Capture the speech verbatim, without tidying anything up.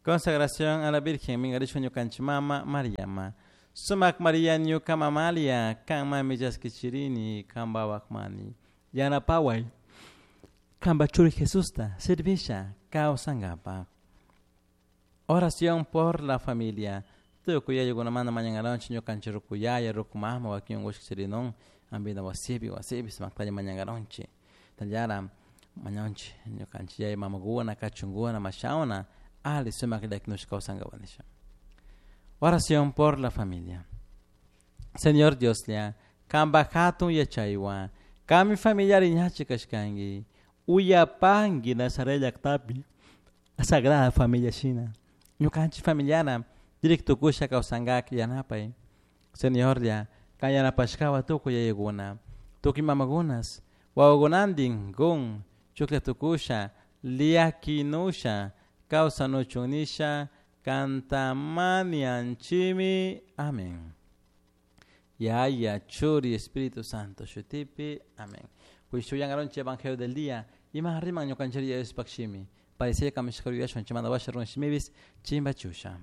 Consagración a la Virgen minkarishka ñukanchik mama Mariama. Sumak Maria ñuka mamalia kanmanmi chaskichirini kanpawak mani. Yanapaway kanpa churi Jesusta servisha kawsankapak. Oración por la familia. Tukuy yayukunamanta mañankaronchik ñukanchik ruku yaya, ruku mama, wakin unkushka charinun hampina wasipi, wasipi sumaktalla mañankaronchik. Tallara mañanchik ñukanchik yaya mamakuna kachunkuna mashawna ali sumak llakinushka kawsankapak nisha. Oración por la familia. Señor Dioslla, kanpak hatun yachaywan, kanmi familiar ñachi kashkanki, uyapanki Nazaret llaktapi Sagrada Familia shina. Ñukanchik familiana directo kusha kawsankak yanapay. Señorlla, kan yanapashkawan tukuy yayakuna, tukuy mamakunas, wawakunantin kun chuklla tukusha, llakinusha, kawsanuchun nisha, kanta mañanchimi. Amén. Yaya, Churi, Espíritu Santo, shutipi. Amén. Kuishuyangaronchi Evangelio del día. Ima riman ñukanchik Diospak shimi. Parecía kamishka yuyashun chimanda washa run shimibis chimba chusha.